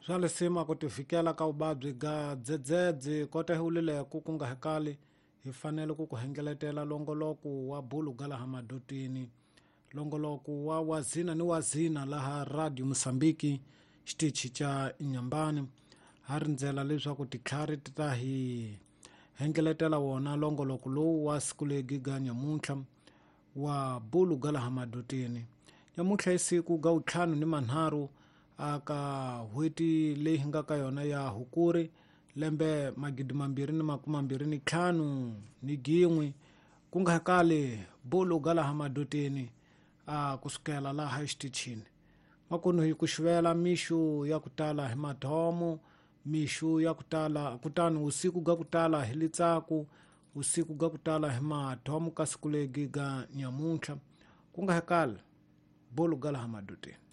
Swa lisima ku tivikela ka vuvabyi ga dzedzedze kota hi wulileku ku nga hekali hi fanele ku ku hengeletela longoloko wa bulu ga laha madotini, longoloko wa wazina ni wazina laha Radio Mosambiki xitichi ca Inhambane. Ha rindzela leswaku titlhari ti ta hi hengeletela wona longoloko lowu wa siku legi ga nyamuntlha wa bulu ga laha madotini. Nyamuntlha i siku ga wutlhanu ni manharhu aka n'hweti leyi hi nga ka yona ya Hukuri, lembe 2025 ni gin'we, ku nga kali bulu ga laha madotini a kusukela laha exitichini. Makunu hi ku xivela mixu ya ku tala hi madhomo, mixu ya ku tala kutani usiku ga ku tala hi litsaku, usiku ga ku tala hi madhomo ka siku legi ga nyamuntlha, ku nga kali bulu ga laha madotini.